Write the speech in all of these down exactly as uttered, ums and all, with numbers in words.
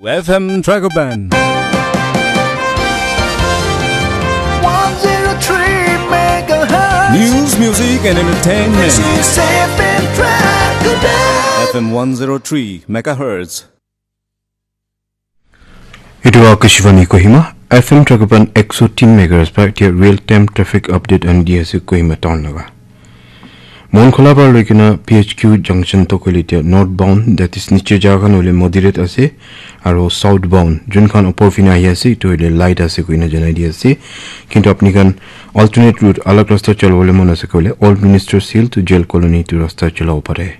F M Dragoban. one zero three megahertz. News, music, and entertainment. This is F M Dragoban. F M one zero three megahertz. Etu Akashvani Kohima, F M Dragoban ekso tin megahertz pa etia real time traffic update ani di ase Kohima town laga. Monkhola para loikena P H Q junction to koile etia northbound, that is niche jaga khan hoile moderate ase, aro southbound jun khan upor fina ahi ase etu hoile light ase koina janai di ase. Kintu apni khan alternate route alag rasta chalobole mon ase koile Old Ministers Hill to Jail Colony etu rasta chalabo pare.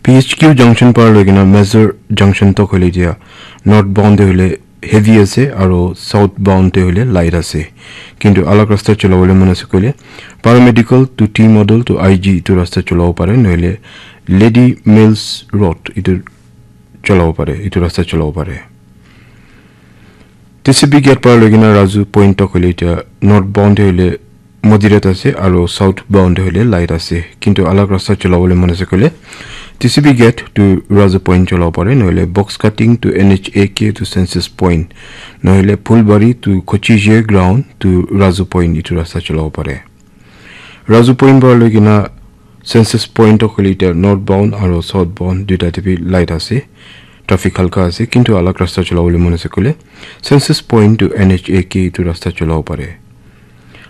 P H Q junction para loikena Major junction to koile etia northbound te hoile heavy ase aro southbound te hoile light ase. Kintu alag rasta chalobole mon ase koile paramedical to T model to I G etu rasta chalabo pare, nohole Lady Mills Road etu chalabo pare, etu rasta chalabo pare. T C B gate para loikena Razu Point to koile etia northbound te hoile moderate ase aro southbound te hoile light ase. Kintu alag rasta chalobole mon ase koile T C B gate to Razu Point chalabo pare, nohole box cutting to N H A K to Census Point, nohole Phulbari to Kochije ground to Razu Point etu rasta chalabo pare. Razu Point para loikena Census Point to koile etia northbound aro southbound duita te bi light ase. Traffic halka ase, kintu alag rasta chalobole mon ase koile Census Point to N H A K etu rasta chalabo pare.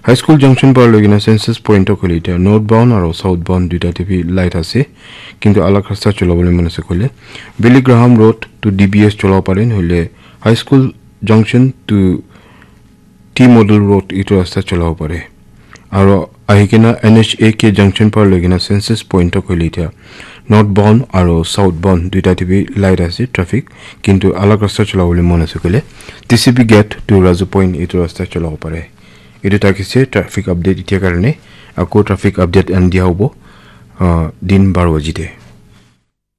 High School junction para loikena Census Point to koile etia northbound aro southbound duita te bi light ase, kintu alag rasta chalobole mon ase koile Billy Graham Road to D B S chalabo pare, nohole High School junction to T Model Road etu rasta chalabo pare. Aro ahikena N H A K junction para loikena Census Point to koile etia northbound aro southbound duita te bi light ase traffic, kintu alag rasta chalobole mon ase koile T C B gate to Razu Point etu rasta chalabo pare. Etu thakise traffic update etia karone, ako traffic update ani dia hobo ah, din baro baji te.